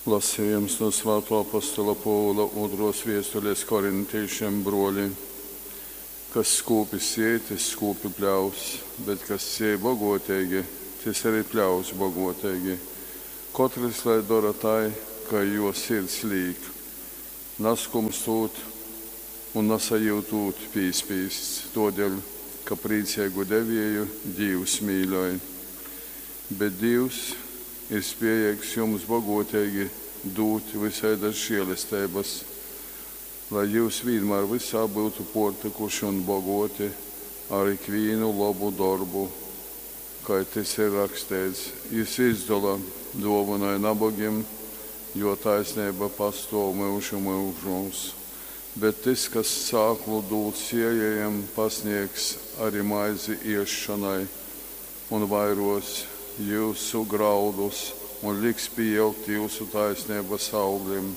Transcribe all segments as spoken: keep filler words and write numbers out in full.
Lasījums no Svātō apostola Pōvula ūtrōs viestules korintīšim. Brōli, kas skūpi siej, tys skūpi pļaus, bet kas siej bogōteigi, tys arī pļaus bogōteigi. Kotrys lai dora tai, kai jō sirds līk, naskumstūt un nasajyutūt pīspīsts, tōdēļ, ka prīceigu devieju Dīvs mīļoj. Bet Dīvs ir spējeigs jums bogōteigi dūt vysaidas žēlesteibas, lai jyus vīnmār vysā byutu pōrtykuši un bogōti ar ikvīnu lobu dorbu, kai tys ir raksteits, Jys izdola, dōvynoj nabogim, jō taisneiba pastōv myužu myužūs. Bet tys, kas sāklu dūd sējējam, pasnēgs ari maizi ēsšonai un vairōs jyusu graudus un liks pīaugt jyusu taisneibas auglim.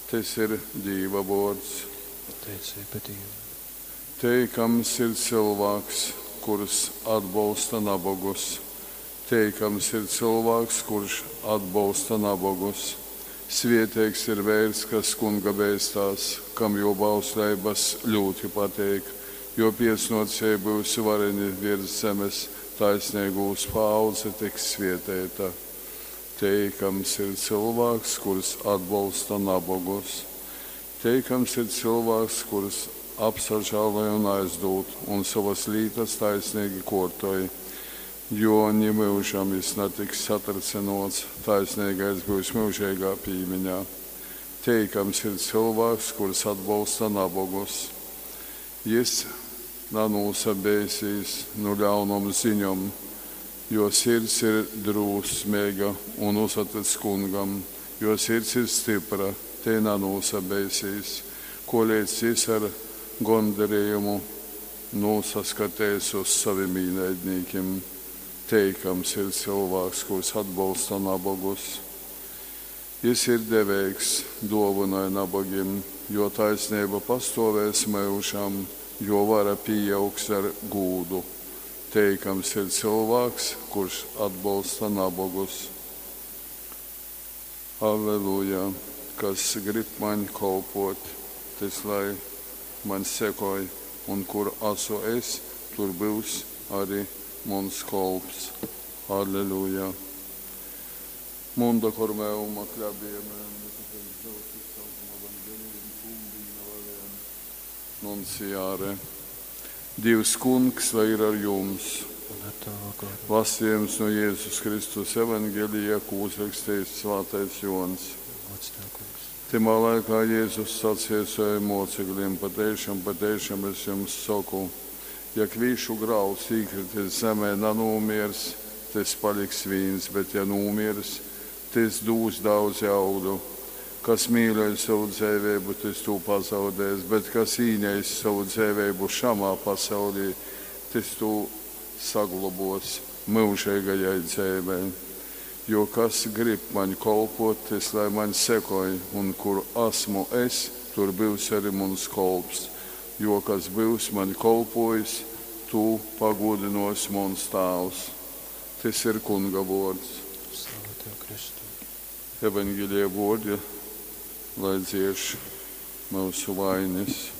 Tys ir Dīva vōrds. Pateiceiba Dīvam. Teikams ir cylvāks, kurs atbolsta nabogus. Teikams ir cylvāks, kurš atbolsta nabogus. Svieteigs ir veirs, kas Kunga beistās, kam jō bausleibas ļūti pateik. Jō piecnōcēji byus vareni viers zemes, taisneigūs paaudze tiks svieteita. Teikams ir cylvāks, kurs atbolsta nabogus. Teikams ir cylvāks, kurs apsažāloj un aizdūd, un sovas lītas taisneigi kōrtoj. Jo nimyužam jys natiks satrycynōts, taisneigais byus myužeigā pīmiņā. Teikams ir cylvāks, kurs atbolsta nabogus. Jys nanūsabeisīs nu ļaunom ziņom, jo sirds ir drūsmeiga un uzatyc Kungam. Jo sirds ir stypra, tei nanūsabeisīs, koleidz jys ar gondarejumu nūsaskateis uz sovim īnaidnīkim. Teikams ir cylvāks, kurs atbolsta nabogus. Jys ir deveigs, dōvynoj nabogim, jō taisneiba pastōvēs myužam, jō vara pīaugs ar gūdu. Teikams ir cylvāks, kurš atbolsta nabogus. Alleluja! Kas grib maņ kolpōt, tys lai maņ sekoj, un kur asu es, tur byus ari muns kolps. Alleluja! Munda cor meum acclabie meum nunciare. Dīvs Kungs, lai ir ar jums! Un ar tavu goru. Lasījums no Jēzus Kristus Evangelija, ko uzrakstījis Svātais Jōns. Gods tev, Kungs. Tymā laikā Jēzus saceja saviem mocekļiem: Pateišam, pateišam es jums saku, ja kvīšu grauds īkritis zemē nanūmiers, tys paliks vīns, bet ja nūmiers, tys dūs daudzi augļu. Kas mīļoj sovu dzeiveibu, tys tū pazaudēs, bet kas īneist sovu dzeiveibu šamā pasaulī, tys tū saglobōs myužeigajai dzeivei. Jo kas grib maņ kolpōt, tys lai maņ sekoj, un kur asmu es, tur byus arī muns kolps. Jo kas byus maņ kolpōjis, tū pagūdynōs muns Tāvs. Tys ir Kunga vōrds. Slava tev, Kristu. Evangelija vōrdi, lai dzieš myusu vainis.